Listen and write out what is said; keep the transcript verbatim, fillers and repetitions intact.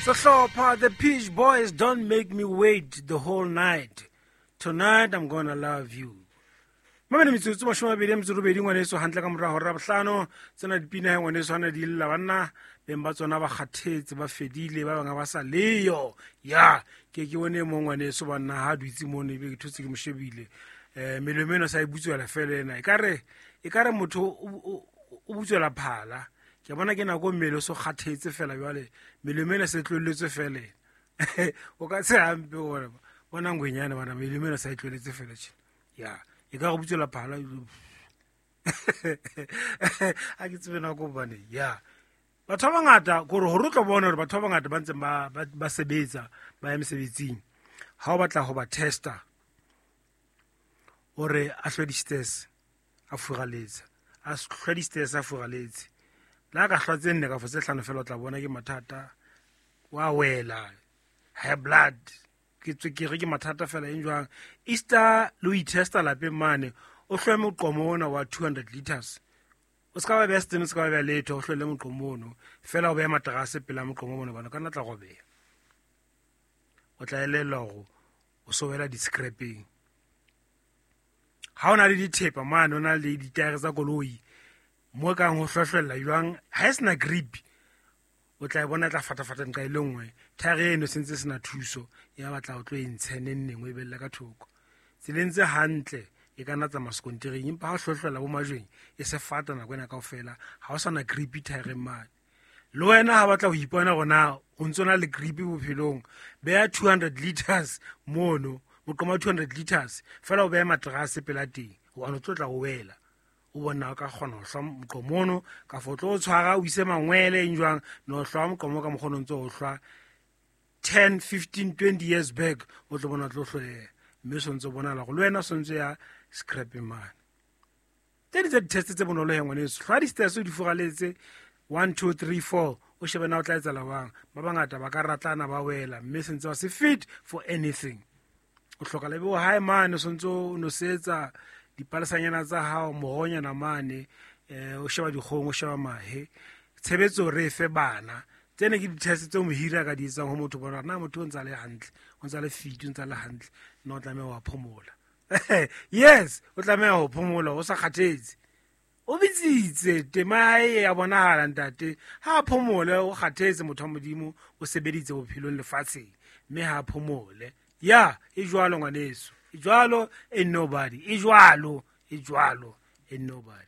Sehlopha The Peach Boys, "Don't Make Me Wait the Whole Night. Tonight I'm Gonna Love You." Mamele, metsotso mashome a mabedi a metso robedi, ngwaneso, hantle ka mora hora bohlano. Tsena dipina he, ngwaneso, hana di lla, banna beng ba tsona ba kgathetse, ba fedile, ba bangwe ba sa leyo. Ya ke ke bone mo ngwaneso, banna, ha dutse mono, ebe ke thotse ke mo shebile, um melomo eno sa e butswela fela ena, ekare ekare motho o o butswela phala. Ke bona ke nako mmele o so kgathetse fela, jwale melomo ena se tlohelletswe fela ena. O ka se hampe gore bona ngwenyane, bana, melomo ena sa e tlohelletse fela tjena. Ya e ka go butswela phala ha ke tsebe nako hobane ya batho ba bangata kore hore o tlo bona hore batho ba bangata ba ntseng ba ba ba sebetsa, ba ya mesebetsing. Ha o batla ho ba testa hore a hlwe di-stairs a furaletse, a hlwe di-stairs a furaletse, le ha ka hlwa tse nne kafo tse hlano fela, o tla bona ke mathata, wa wela, high blood, ke tswekere, ke mathata fela eng jwang. Easter le ho itesta lapeng mane, o hlwe moqomo ona wa two hundred liters, o ska ba beha setene, o ska ba beha letho, o hlwelle moqomo ono fela, o behe materase pela moqomo ono, bana ka nna tla robeha. O tla elellwa hore o so wela di-scrapeng. Ha o na le dithepa mane, o na le ditaere tsa koloi mo kang ho hlohlella jwang, ha e sena grip, o tla e bona e tla fatafata nqa e le nngwe. Thaere eno se ntse sena thuso, ya batla o tlo e ntshe neng neng, o e belle ka thoko tseleng tse hantle, e ka nna tsamaya sekontiring, empa ha o hlohlella bo majweng, e se fata nako ena kaofela, ha o sana grip thaereng mane. Le wena ha batla ho ipona hore na o ntso na le grip bophelong, beha two hundred liters mono, moqomo wa two hundred liters fela, o behe materase pela teng, hobane o tlo tla o wela. O bona o ka kgona ho hlwa moqomo ono, kafo o tlo o tshwara, o ise mangwele eng jwang, no hlwa moqomo ka mokgwa o ntso o hlwa ten fifteen twenty years back, o tlo bona o tlo hloleha, mme o sontse o bonahala gore le wena o sontse ya scrapeng mane. Tse ding tsa di-test tse bonolo he, ngwaneso, hlwa di-stairs o di furaletse one two three four, o shebe na o tla etsahala jwang. Ba bangata ba ka ratlana, ba wela, mme sentse ba se fit for anything. O hloka le bo hae mane, o sontse o nosetsa dipalesanyana tsa hao, moronyana mane, um o sheba dikgomo, o sheba mahe, tshebetso re e fe bana. Tsene ke di-test tseo mohiri a ka di etsang ho motho, bona na motho o ntse a le hantle, o ntse a le fit, o ntse a le hantle, nna o tlameha wa phomola. Yes, o tlameha ho phomola, o sa kgathetse, o bitsitse tema ya hae ya bonahala. Ntate ha a phomole, o kgathetse, motho wa Modimo, o sebeditse bophelong lefatsheng, mme ha a phomole. Ya e jwalo, ngwaneso, e jwalo, e nobody, e jwalo, e jwalo, e nobody.